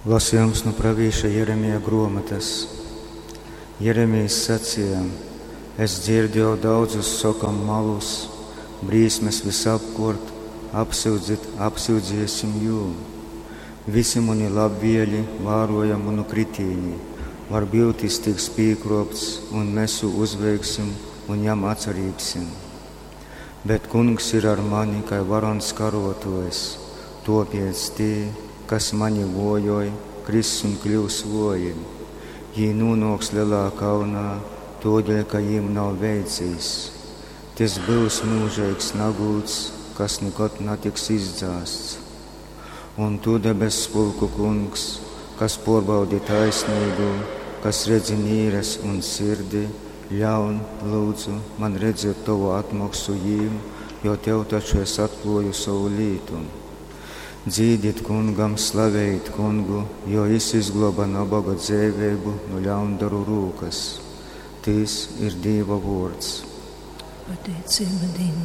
Lasījums nu pravīša Jeremija gruomotys. Jeremijs saceja: Es dzierdu jau daudzus sokam malus, brīsmes vysapkuort, apsyudzit, apsyudziesim jū. Visi muni labvieļi vāroja munu kritīni, varbyut jis tiks pīkruopts, un mes jū uzveiksim un jam atsarībsim. Bet Kungs ir ar mani kai varons karuotuojs, tuopiec tī, kas mani vojoj, kriss un kļyus vuoji. Jī nūnuoks lelā kaunā, tuodeļ ka jīm nav veicīs. Tys byus myužeigs nagūds, kas nikod natiks izdzāsts. Un tu, debesspulku Kungs, kas puorbaudi taisneigū, kas redzi nīres un sirdi, ļaun, lyudzu, man redzēt tovu atmoksu jīm, jo tev taču es atkluoju sovu lītu. Dzīdit kungam, slavejit kungu, jo jis izgluoba naboga dzeiveibu nu ļaundaru rūkys. Tys ir Dīva vuords. Pateiceiba Dīvam.